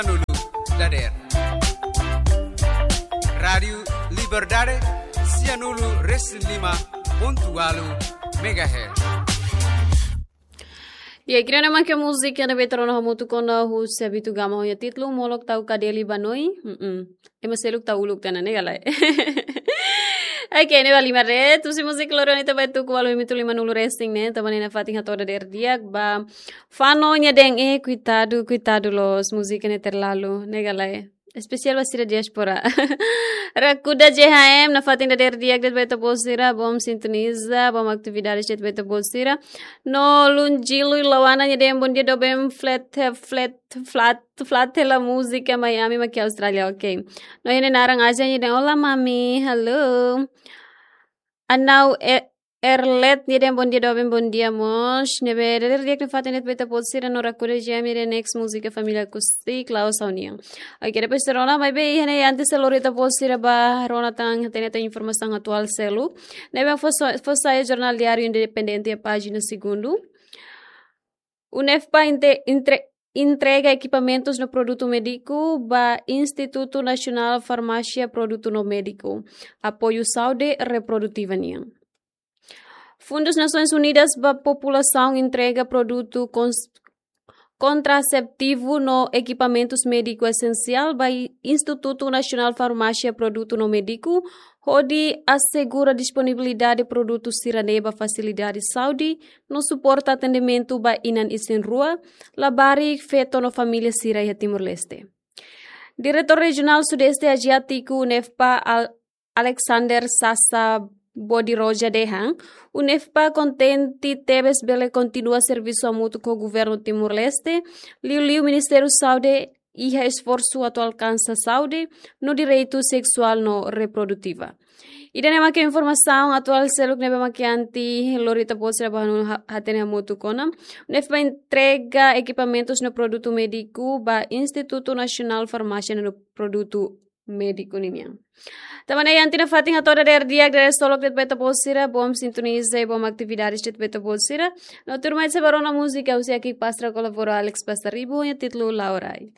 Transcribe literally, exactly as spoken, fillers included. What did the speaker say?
Sianulu dadeer. Rádiu Liberdade, sianulu resin lima pontu ualu megahertz. Ya, kira nama ke múzika ne'ebé ita rona hamutuk ona husi Abitu Gama ho nia títulu Molok Tau Kadeli Banoi. Mm-mm. Ema seluk tau uluk tiha ona, ne'e ka lae? Oke, ne'e ba lima ret. Husi múzika loron ita bá tuku ualu minutu limanulu resin ne'e. Tanba ne'e nafatin hato'o dadeer di'ak ba Fano nia dehan, eh, koitadu, koitadu loos, múzika ne'e terlalu, ne'e ka lae? Espesiál ba sira diáspora. Rakuda J H M, nafatin dadeer di'ak de'it ba ita-boot sira, bom sintoniza, bom atividades de'it ba ita-boot sira. No Lunjilu Lawana nia dehan bondia doben flat, flat, flat, flat hela múzika Miami mak iha Austrália, oke. No iha ne'e naran Asia nia dehan, olá mami, hello. Anau e-, Erlet nia dehan bondia doben, bondia mós. Ne'ebé dadeer di'ak nafatin de'it ba ita-boot sira no Rakuda J H M nia dehan next múzika Família Acústica, Klaus Saunian. Oke, depois ita rona, maibé iha ne'e antes ha'u lori ita-boot sira ba rona tan, hatene tan informasaun atuál seluk. Ne'ebé fó sa-, fó sai Jornál Diáriu Independente iha pájina segundu. UNEFPA inte-, entre-, entrega ekipamentus no produtu médiku ba Institutu Nasionál Farmásia Produtu no Médiku, apoiu saúde reprodutiva nian. Fundu Nasoins Unidas ba Populasaun entrega produtu kons-, kontraseptivu no ekipamentus médiku esensiál ba Institutu Nasionál Farmásia Produtu no Médiku, hodi asegura disponibilidade produtu sira-ne'e ba fasilidade saúde, no suporta atendimentu ba inan isin-rua, labarik, feto no família sira iha Timor-Leste. Diretór Rejionál Sudeste Aziátiku UNEFPA Al-, Alexander Sasa Bodiroja dehan, UNEFPA kontente tebes bele kontinua servisu hamutuk ho Governu Timor-Leste, liuliu Ministériu Saúde iha esforsu atu alkansa saúde no direitu seksuál no reprodutiva. Ida-ne'e mak informasaun atuál seluk ne'ebé mak ha'u lori ita-boot sira ba hanu ha-, hatene hamutuk ona. UNEFPA entrega ekipamentus no produtu médiku ba Institutu Nasionál Farmásia no Produtu Médiku ninian. Tanba ne'e iha ne'e nafatin hato'o dadeer di'ak, dadeer solok de'it ba ita-boot sira, bom sintoniza i bom atividades de'it ba ita-boot sira. No tuirmai ita sei bá rona múzika husi Aki Pastra kolabora Alex Pasaribu, nia títulu Laurai.